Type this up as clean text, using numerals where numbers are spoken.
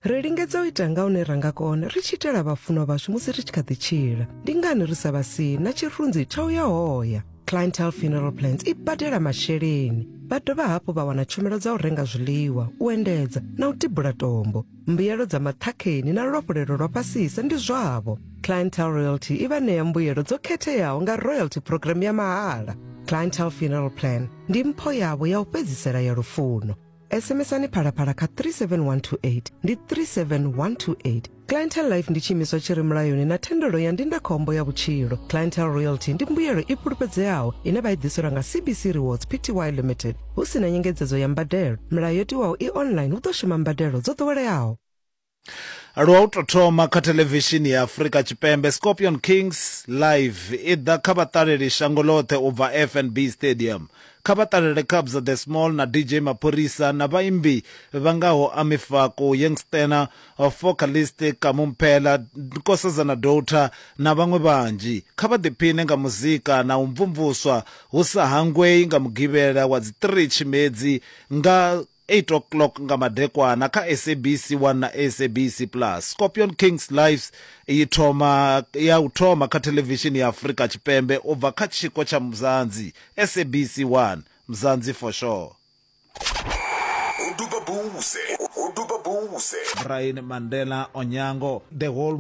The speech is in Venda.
Ri lingedza u ita nga hune ra nga kona ri tshi itela vhafunwa vhashu musi ri tshi kha ḓi tshila. Ndi ngani ri sa vha sii na tshirunzi tsha u ya hoya? Clientele Funeral Plans i badela masheleni. Vha dovha hafhu vha wana tshumelo dza u renga zwiḽiwa, u endedza na u tibula tombo. Mbuyelo dza maṱhakheni na luafhulelo lwa fhasisa ndi zwavho. Clientele Royalty i vha ṋea mbuyelo dzo khetheaho nga royalty program ya mahala. Clientele Funeral Plan ndi mpho yavho ya u fhedzisela ya lufuno. SMSani Phalaphala kha 37128 ndi 37128. Clientele Life ndi tshiimiswa tshi re mulayoni na thendelo ya ndindakhombo ya vhutshilo. Clientele Royalty ndi mbuyelo i fhulufhedzeaho ine vha i ḓiselwa nga CBC Rewards Pty Limited hu si na nyengedzedzo ya mbadelo. Milayo yo tiwaho i online hu ḓo shuma mbadelo dzo ḓoweleaho. Lwa u tou thoma kha thelevishini ya Afrika Tshipembe, Scorpion Kings Live i ḓa kha vhaṱaleli shango ḽoṱhe u bva FNB Stadium. Kha vha ṱalele Kabza De Small na DJ Maphorisa na vhaimbi vha ngaho Ami Faku, Youngstena, Focalist Kamo Mphela, Nkosazana Daughter na vhaṅwe vhanzhi. Kha vha ḓiphine nga muzika na u mvumvuswa hu sa hangwei nga Mugivhela wa dzi 3 Tshimedzi nga 8:00 nga madekwana kha SABC 1 na SABC Plus. Scorpion Kings Lives yi thoma ya u thoma kha thelevishini ya Afrika Tshipembe u bva kha tshiko tsha Mzansi, SABC 1, Mzansi for sure. Hu duba buse, hu duba buse. Brian Mandela Onyango, the whole.